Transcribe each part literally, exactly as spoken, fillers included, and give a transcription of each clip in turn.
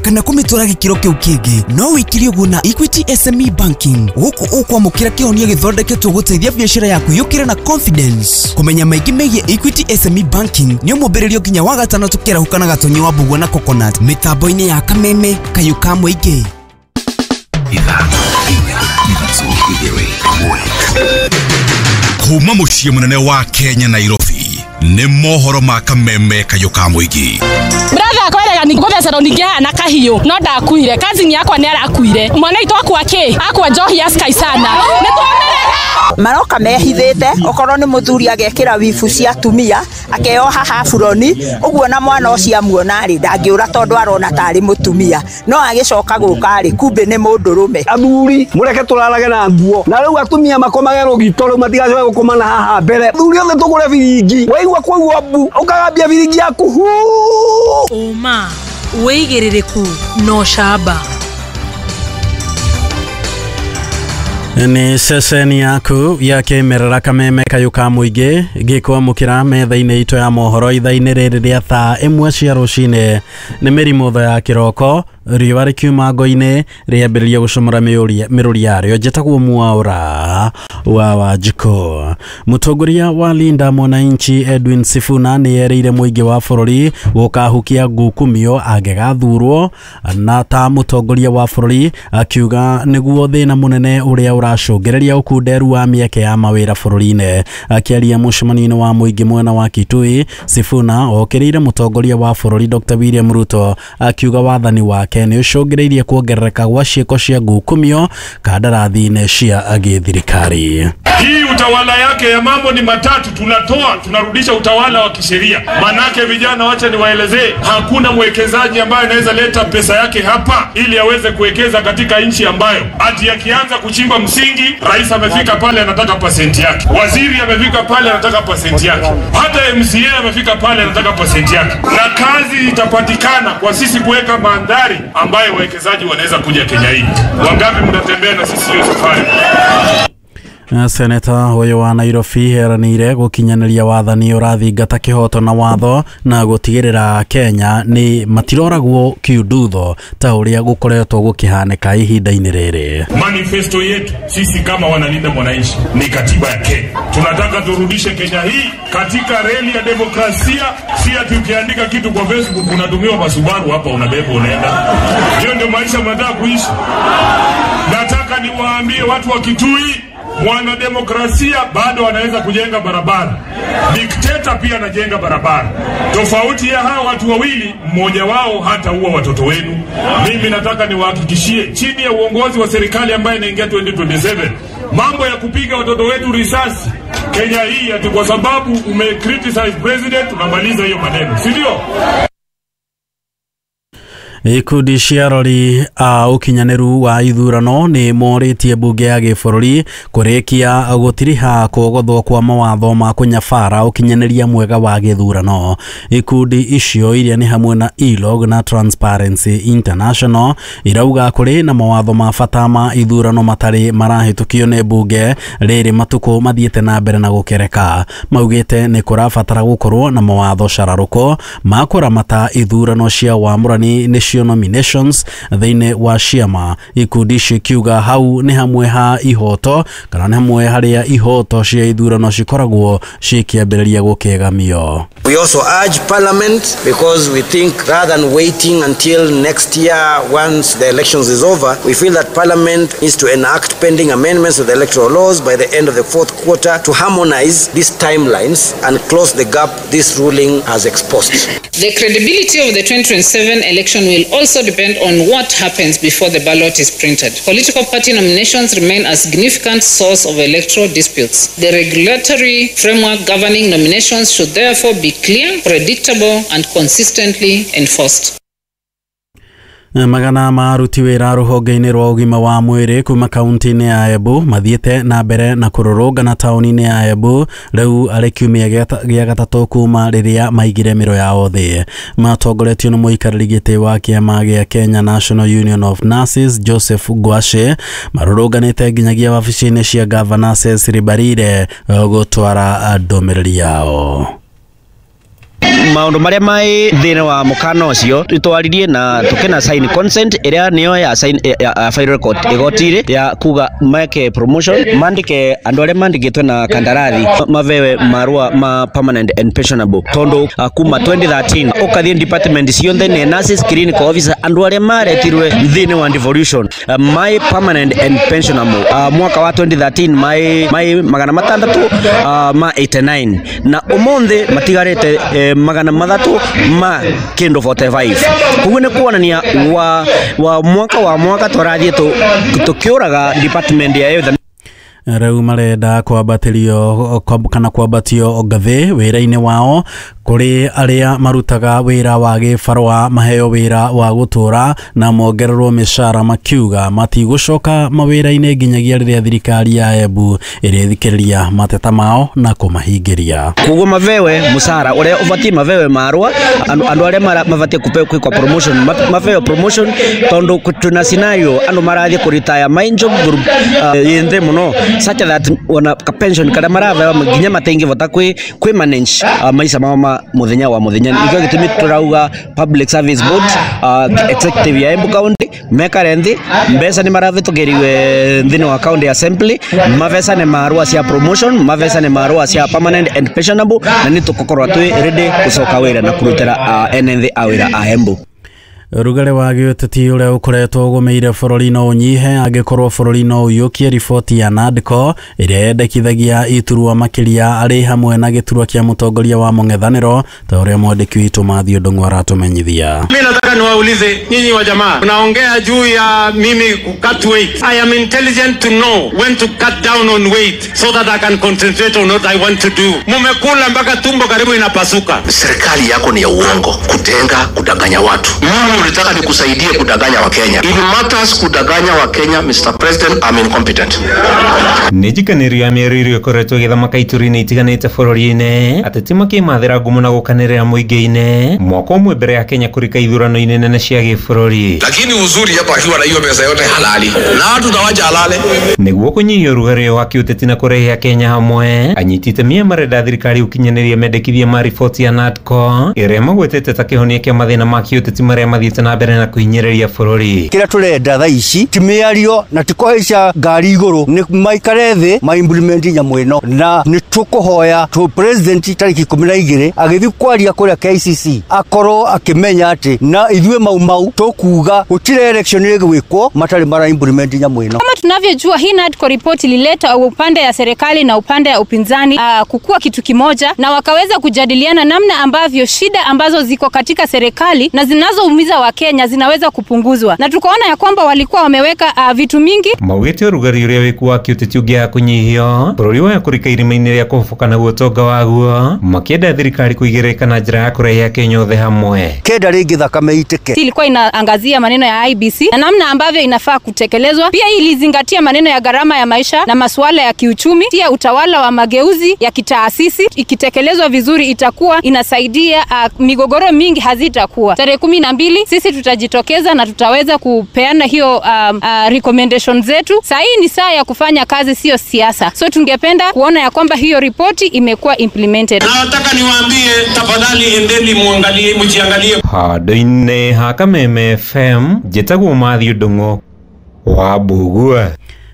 Kana kũmĩtwara gĩkĩro kĩu kĩngĩ. No wĩkire ũguo na Equity S M E Banking. Gũkũ ũkwamũkĩra kĩhonia gĩthondeketwo gũteithia biacara yaku yũkĩre na confidence. Kũmenya maingĩ megiĩ Equity S M E Banking nĩ ũmũmbĩrĩrio nginya wa gatano tũkĩarahũka na Gatonyi wa Mbugua na Coconut mĩtambo-inĩ ya Kameme Kayũ ka Mũingĩ. Ithano, inya, ithatũ, igĩrĩ, ĩmwe. Kuma mũciĩ mũnene wa Kenya Nairobi nĩ mohoro ma Kameme Kayũ ka Mũingĩ. Brother akwerega ni ngũthecerwo ningĩ haha na kahiũ no ndakuire, cousin yakwa nĩ arakuire, mwana witũ akua kĩ? Akua njohi ya Sky sana. Nĩ twamĩrega. Maroka mehithĩte, okorwo nĩ mũthuri agekĩra wibu cia atumia akeoha haburoni ũguo, na mwana ũcio amuona rĩ ndangĩũra tondũ arona tarĩ mũtumia, no agĩcoka gũka rĩ kumbe nĩ mũndũrũme. Athuri mũreke tũrarage na nguo, na rĩu atumia makomage rũgito rĩu matigacoke gũkoma na haha mbere. Athuri othe tũgũre biringi, waigua kwaigua mbu ũkagambia biringi yaku hu. Ũma wĩigĩrĩrĩku na ũcamba. Nĩ ceceni yaku ya kĩmerera Kameme Kayũ ka Mũingĩ gĩkwamũkĩra metha-inĩ itũ ya mohoro ithaa-inĩ rĩrĩ rĩa thaa ĩmwe cia rũcinĩ. Nĩ mĩrimũ ya kĩroko, riũa rĩkiuma ngo-inĩ rĩambĩrĩria gũcomora mĩrũri yarĩo. Njĩtagwo Mwaũra wa Wanjikũ. Mũtongoria wa Linda Mwananchi Edwin Sifuna nĩ erĩire mũingĩ wa bũrũri gũkahukia ngukumio angĩgathurwo na ta mũtongoria wa bũrũri, akiuga nĩguo thĩna mũnene ũrĩa ũracũngĩrĩria ũkunderu wa mĩeke ya mawĩra bũrũri-inĩ. Akĩaria mũcemanio-inĩ wa mũingĩ mwena wa Kitui, Sifuna okĩrĩire mũtongoria wa bũrũri Doctor William Ruto akiuga wathani wake nĩ ũcũngĩrĩirie kuongerereka gwa ciĩko cia ngukumio kandarathi-inĩ cia gĩthirikari. Hii utawala yake ya mambo ni matatu, tunatoa tunarudisha utawala wa kisheria. Manake vijana, wacha niwaelezee, hakuna mwekezaji ambaye anaweza leta pesa yake hapa ili aweze kuwekeza katika nchi ambayo ati akianza kuchimba msingi, rais amefika pale anataka pasenti yake, waziri amefika pale anataka pasenti yake, hata M C A amefika pale anataka pasenti yake. Na kazi itapatikana kwa sisi kuweka mandhari ambayo wawekezaji wanaweza kuja Kenya hii. Wangapi mtatembea na sisi hiyo safari? Seneta ũyũ wa Nairobi eranĩire gũkinyanĩria wathani ũrathingata kĩhoto na watho na gũtigĩrĩra Kenya nĩ matiroragwo kiundutho ta ũrĩa gũkoretwo gũkĩhanĩka ihinda-inĩ rĩrĩ. Manifesto yetu sisi kama wanalinda mwananchi ni katiba ya Kenya. Tunataka turudishe Kenya hii katika reli ya demokrasia, si ati ukiandika kitu kwa Facebook unatumiwa masubaru hapa unabeba unaenda. Hiyo ndio maisha mnataka kuishi? Nataka niwaambie watu wa Kitui, mwana demokrasia bado anaweza kujenga barabara. Dikteta pia anajenga barabara. Tofauti ya hawa watu wawili, mmoja wao hata huwa watoto wenu. Mimi nataka niwahakikishie, chini ya uongozi wa serikali ambaye inaingia twenty twenty-seven, mambo ya kupiga watoto wetu risasi Kenya hii ati kwa sababu ume criticize president, tunamaliza hiyo maneno, si ndio? Ikundi cia arori a ũkinyanĩru wa ithurano nĩ morĩtie mbunge ya gĩbũrũri kũrĩkia gũtiriha kwogothwo kwa mawatho ma kũnyabara ũkinyanĩria mwega wa gĩthurano. Ikundi icio iria nĩ hamwe na ILOG na Transparency International irauga kũrĩ na mawatho ma bata ma ithurano matarĩ marahĩtũkio nĩ mbunge rĩrĩ matukũ mathiĩte na mbere na gũkereka. Maugĩte nĩ kũrabatara gũkorwo na mawatho cararũko ma kũramata ithurano cia wamũrani nĩcio nominations thĩinĩ wa ciama. Ikundi icio ikiuga hau nĩ hamwe ha ihoto kana nĩ hamwe harĩa ihoto cia ithurano cikoragwo cikĩambĩrĩria gũkĩgamio. We also urge Parliament, because we think rather than waiting until next year once the elections is over, we feel that Parliament needs to enact pending amendments to the electoral laws by the end of the fourth quarter to harmonize these timelines and close the gap this ruling has exposed. The credibility of the twenty twenty-seven election will also depend on what happens before the ballot is printed. Political party nominations remain a significant source of electoral disputes. The regulatory framework governing nominations should therefore be clear, predictable, and consistently enforced. Magana ma aruti wĩra rũhonge-inĩ rwa ũgima wa mwĩrĩ kuma kaunti-inĩ ya Embu mathiĩte na mbere na kũrũrũngana taũni-inĩ ya Embu rĩu arĩ kiumia gĩa gatatũ kuma rĩrĩa maigire mĩro yao thĩ. Matongoretio nĩ mũikarĩri gĩtĩ wa kĩama gĩa Kenya National Union of Nurses Joseph Ngwashe marũrũnganĩte nginyagia wabici-inĩ cia Governor Cecily Mbarire gũtwara ndũmĩrĩri yao. Maundu maria mai thini wa mukana ucio twaririe na tukena sign consent iria niyo ya sign ya file record igotire ya kuga make promotion mandike andu aria mandikitwe na kandarathi mavewe marua ma permanent and pensionable tondu kuma twenty thirteen ukathie department cionthe ni nurses, clinical officer andu aria maretirwe thini wa devolution uh, my permanent and pensionable uh, mwaka wa twenty thirteen mai mai magana matandatu uh, ma eighty-nine na umuthi matigarite eh, magana mathatu ma kindu forty-five. Koguo ni kuonania wa, wa mwaka wa mwaka twarathie tukiuraga department ya youth. Rĩu marenda kwambatĩrio kana kwambatio ngathĩ wĩra-inĩ wao kũrĩ arĩa marutaga wĩra wa gĩbarũa maheo wĩra wa gũtũra na mongererwo mĩcara makiuga matigũcoka mawĩra-inĩ nginyagia rĩrĩa thirikari ya Embu ĩrĩthikĩrĩria mateta mao na kũmahingĩria. Koguo mavewe mũcara ũrĩa ũbatiĩ mavewe marũa andũ arĩa mabatiĩ kwĩkwa promotion mavewe promotion tondu tuna scenario andũ marathiĩ kũritaya main job group uh, yĩ nthĩ mũno such that wana ka pension kada maravewa nginya matingĩvota kwi kwi manage uh, maisha mao ma muthenya wa muthenya. Nikio gitumi turauga Public Service Board uh, executive ya Embu County mekare nthi mbeca ni maravitũkĩriwe nthini wa county assembly mavesa ni marua cia promotion mavesa ni marua cia permanent and pensionable na ni tukukorwa twi ready gucoka wira na kurutira uh, ene nthi a wira a Embu. Rugare wa gĩũteti ũrĩa ũkoretwo ũgũmĩire bũrũri no ũnyihe angĩkorwo bũrũri no ũiyũkie riboti ya NADCO ĩrĩa yendekithagia iturwa makĩria arĩ hamwe na gĩturwa kĩa mũtongoria wa mũng'ethanĩro ta ũrĩa mwandĩki witũ Matthew Ndung'u aratũmenyithia. Mimi nataka niwaulize nyinyi wa jamaa, mnaongea juu ya mimi ku cut weight. I am intelligent to know when to cut down on weight so that I can concentrate on what I want to do. Mumekula mpaka tumbo karibu inapasuka. Serikali yako ni ya uongo, kutenga, kudanganya watu. Mimi ulitaka nikusaidie kudanganya wa Kenya. If matters kudanganya wa Kenya, Mister President, I'm incompetent. Nĩnjikanĩrio ya mĩario ĩrĩa ĩkoretwo ĩgĩthamaka ituri-inĩ itiganĩte bũrũri-inĩ ateti makĩmathĩra ngumo na gũkanĩrĩra mũingĩ-inĩ mwaka ũmwe mbere ya Kenya kũrika ithurano-inĩ nene cia gĩbũrũri. Lakini uzuri hapa akiwa na hiyo pesa yote halali na watu tawacha halale. Nĩguo kũnyihia ũrugarĩ wa kĩũteti na kũrehe Kenya hamwe, anyiti itemi marenda thirikari ũkinyanĩrie mendekithia ma riboti ya NADCO ĩrĩa magwetete ta kĩhonia kĩa mathĩna ma kĩũteti marĩa mathiĩte na mbere na kũhinyĩrĩria bũrũri. Kĩrĩa tũrenda thaa ici ti mĩario na ti kũhaica ngari igũrũ, nĩ maikare thĩ ma implement nyamũ ĩno, na nĩ tũkũhoya tũ president tarĩki ikũmi na igĩrĩ agĩthiĩ kwaria kũrĩa K C C akorwo akĩmenya atĩ na ithuĩ Mau Mau tũkuga gũtirĩ election ĩgwĩkwo matarĩ mara implement nyamũ ĩno. Kama tunavyojua hii NADCO report ilileta upande ya serikali na upande ya upinzani uh, kukua kitu kimoja, na wakaweza kujadiliana namna ambavyo shida ambazo ziko katika serikali na zinazoumiza wa Kenya zinaweza kupunguzwa, na tukaona ya kwamba walikuwa wameweka uh, vitu mingi. Maugĩte ũrugarĩ ũrĩa wĩkuo wa kĩũteti ũngĩaga kũnyihio bũrũri wa kũrika irima-inĩ rĩa kũhoboka naguo ũtonga waguo makĩenda thirikari kũigĩrĩrĩka na njĩra ya kũrehe Akenya othe hamwe. Kenda rĩngĩ thakame itĩke. Ilikuwa inaangazia maneno ya I B C na namna ambavyo inafaa kutekelezwa. Pia ilizingatia maneno ya gharama ya maisha na masuala ya kiuchumi, pia utawala wa mageuzi ya kitaasisi. Ikitekelezwa vizuri itakuwa inasaidia uh, migogoro mingi hazitakuwa. Tarehe kumi na mbili sisi tutajitokeza na tutaweza kupeana hiyo um, uh, recommendation zetu. Saa hii ni saa ya kufanya kazi, sio siasa. So tungependa kuona ya kwamba hiyo ripoti imekuwa implemented. Na nataka niwaambie tafadhali, endeni muangalie, mjiangalie. Handũ-inĩ ha Kameme F M njĩtagwo Matthew Ndung'u wa Mbugua.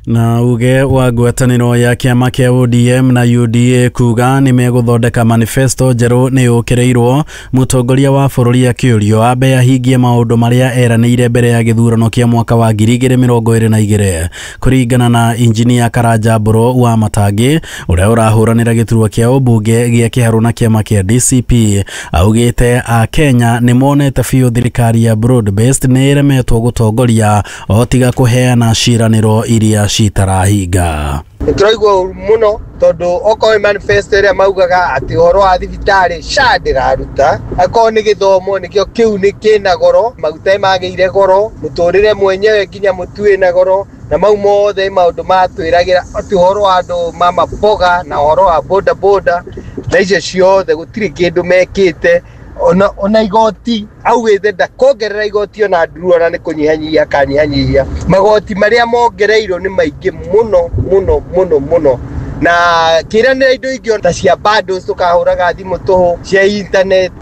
Na uge wa ngwatanĩro ya kĩama kĩa O D M na U D A kuga nĩ megũthondeka manifesto njerũ nĩ yũkĩrĩirwo mũtongoria wa bũrũri akĩũrio ambe ahingie maũndũ marĩa eranĩire mbere ya gĩthurano kĩa mwaka wa ngiri igĩrĩ mĩrongo ĩrĩ na igĩrĩ. Kũringana na injinia Karanja Mbũrũ wa Matangi ũrĩa ũrahũranĩra gĩturwa kĩa ũmbunge gĩa Kĩharũ na kĩama kĩa D C P, augĩte a Kenya nĩ monete biũ thirikari ya broad based nĩ ĩremetwo gũtongoria o tiga kũheana ciĩranĩro iria citarahinga. Nĩtũraigua ũru mũno tondũ okorwo nĩ manifesto ĩrĩa maugaga atĩ ũhoro wa thibitarĩ SHA ndĩraruta, akorwo nĩ gĩthomo nĩkĩo kĩu nĩ kĩna goro, maguta nĩmagĩire goro, mũtũrĩre mwenyewe nginya mũtu wĩna goro, na mau mothe maũndũ matwĩragĩra atĩ ũhoro wa andũ ma maboga na ũhoro wa boda boda na icio ciothe gũtirĩ kĩndũ mekĩte. Ona ona igoti augĩte ndakongerera igoti ona nduru ona nĩ kũnyihanyihia akanyihanyihia. Magoti marĩa mongereirwo nĩ maingĩ mũno mũno mũno mũno, Na kĩranĩra indo ingĩ ta cia bundles tũkahũraga thimũ tũhũ, cia internet,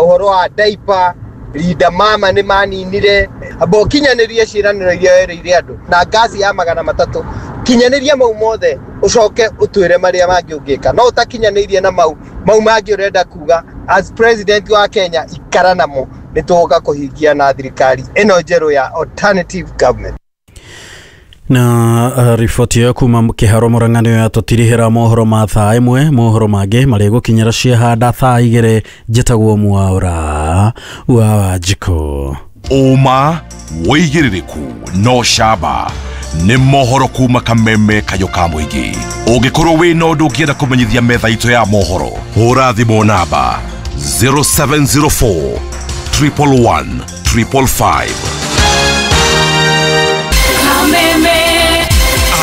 ũhoro wa diaper, Linda Mama nĩ maninire. Amba ũkinyanĩrie ciĩranĩro iria werĩire andũ na ngasi ya magana matatũ, kinyanĩria mau mothe ũcoke ũtwĩre marĩa mangĩ ũngĩka. No ũtakinyanĩirie na mau mau mangĩ ũrenda kuga as president wa Kenya ikara namo, nĩ tũgũka kũhingia na thirikari ĩno njerũ ya alternative government. Na uh, riboti ĩyo kuma kĩharo Murang'a nĩyo yatũtirihĩra mohoro ma thaa ĩmwe. Mohoro mangĩ marĩgũkinyĩra ciahanda thaa igĩrĩ. Njĩtagwo Mwaũra wa Wanjikũ. Ũma wĩigĩrĩrĩku no camba nĩ mohoro kuma kameme kayũ ka mũingĩ. Ũngĩkorwo wĩna ũndũ ũngĩenda kũmenyithia metha itũ ya mohoro, hũra thimũ namba zero seven zero four triple one triple five.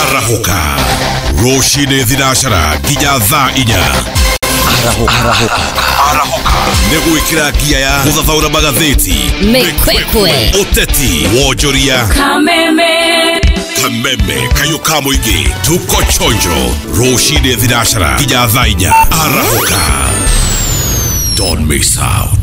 Arahũka rũcinĩ thinacara nginya thaa inya. Arahũka Arahũka nĩ gwĩkĩra ngia ya gũthathaũra magathĩti, mĩkwekwe, ũteti, wonjoria. Kameme Kameme kayũ ka mũingĩ, tuko chonjo rũcinĩ thinacara nginya thaa inya. Arahũka, don't miss out.